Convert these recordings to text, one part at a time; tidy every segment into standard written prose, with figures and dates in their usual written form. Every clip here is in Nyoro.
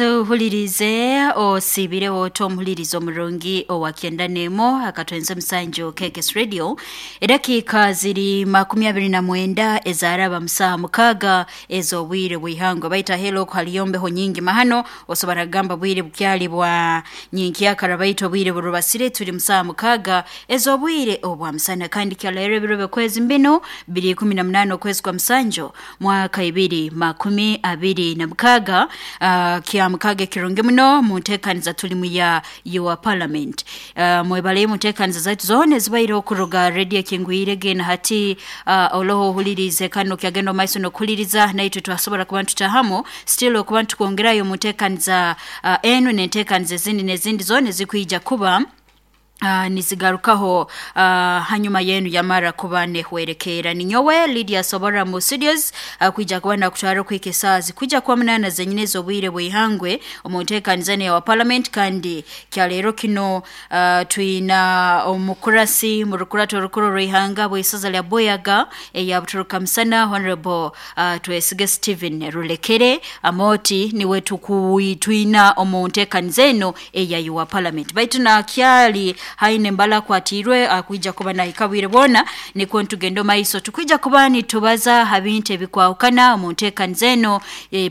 Tuhulirize osiibireho ota omuhulirizo omurungi owa 91 akatwenza omusanju KKS Radio. Edakiika ziri 29 ezaraba musaha 6 ez'obwire bw'ihangwe. Baita helo haliyo mbeho nyingi mahano, osobora kugamba bwire bukyali bwa nyenkyakara, baitu obwire burubasire, turi musaha 6 ez'obwire obwa musana. Kandi kyaleero ebiro by'okwezi mbinu biri 18 okwezi kwa musanju mwaka 2026, kya mukaaga ekirungi muno mu nteekaniza tulimu ya Your Parliament. Mwebaleyo mu nteekaniza zaitu zoona ezibaire okuruga radio ekingwire gena hati, oloho ohulirize kandi okyagenda omu maiso n'okuhuliriza naitwe twasobora kuba ntutahamu still okuba ntukwongerayo mu nteekaniza enu n'enteekaniza ezindi n'ezindi zoona ezikwija kuba nizigarukaho hanyuma yenu yamara kuba nehwerekeera. Ninyowe Lydia Sobora mu studios, kwija kuba nakutwara okuhika esaaha zikwija kuba 8 zenyini ez'obwire bw'ihangwe omu nteekaniza enu eya parliament. Kandi kyaleero kino twina omukurasi mu rukurato orukuru orw'ihanga bw'isaza lya Buyaga eya Buturuka Musana, Honorable Twesige Stephen Rulekere Amoti, niwe twina omu nteekaniza enu eya Your Parliament. Baitu nakyali haine embala akwatiirwe, akwija kuba nahika bwire bwona, nikwo ntugenda omaiso tukwija kuba nitubaza ha bintu ebikwahukana omu nteekaniza eno.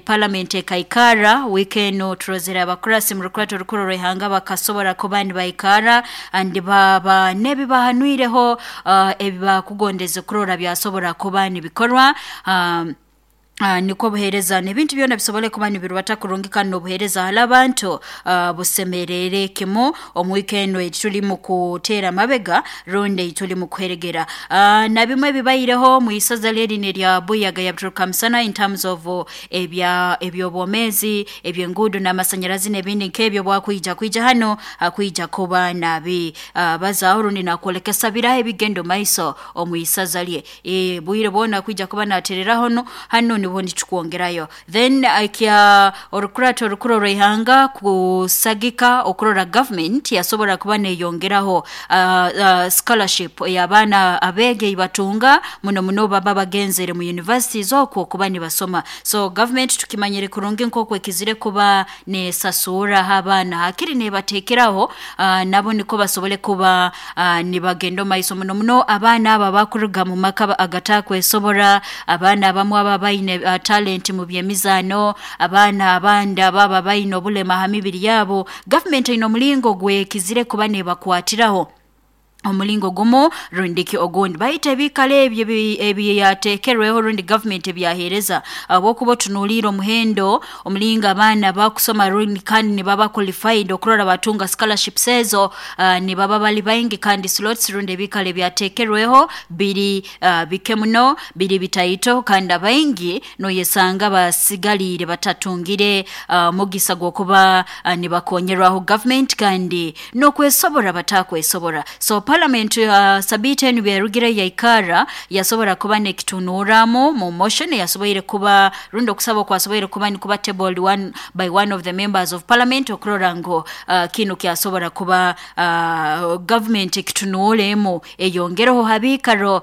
Parliament ekaikara wiiki eno, turozere abakurasi mu rukurato orukuru orw'ihanga bakasobora kuba nibaikara andi baba n'ebibahanwireho, ebibakugondeze kurora byasobora kuba nibikorwa, nikwo obuheereza n'ebintu byona bisobole kuba nibirubata kurungi kandi n'obuheereza hali abantu busemerere kimu omu wiiki eno ei tuli mu kuteera amabega rundi ei tuli mu kuheregera. Na bimwe ebibaireho mu isaza lyerino erya Buyaga ya Buturuka Musana in terms of ebya eby'obwomeezi, eby'enguudo n'amasanyarazi n'ebindi nk'ebyo, bwakwija kwija hano akwija kuba nabi bazaaho rundi nakwolekesa biraho ebigenda omu maiso omu isaza lye. Bwire bwona kwija kuba natereraho no hano niho nitukwongerayo. Then ekya orukurato orukuru orw'ihanga kusagika okurora government yasobora kuba neyongeraho scholarship ey'abaana abeegi ei batunga muno muno baba bagenzere mu universities okwo kuba nibasoma. So government tukimanyire kurungi nk'oku ekizire kuba nesasuuraho abaana, hakiri nebateekeraho nabo nikwo basobole kuba nibagenda omu maiso, muno muno abaana abo abakuruga mu maka agatakwesobora, abaana abamu aba baine talent mu by'emizaano, abaana abandi ababa baine obulema ha mibiri yabo. Government eine omulingo gwekizire kuba nebakwatiraho omulingo gumu rundiki ogundi, baitu ebiikaro ebyo ebyateekerweho rundi government ebyaheereza, habwokuba otunuuliire omuhendo omulingo abaana bakusoma rundi kandi nibaba qualified okurora batunga scholarships ezo, nibaba bali baingi kandi slots rundi ebiikaro ebyateekerweho biri bike muno, biri bitaito, kandi abaingi noyesanga basigaliire batatungire mugisa gw'okuba nibakonyerwaho government kandi n'okwesobora batakwesobora. So parliament sabiiti enu byarugire yaikara yasobora kuba nekitunuuramu mu motion yasoboire kuba rundi okusaba okwasoboire kuba nikuba tabled one by one of the members of parliament okurora ngu kinu kyasobora kuba government ekitunuulemu eyongereho ha biikaro.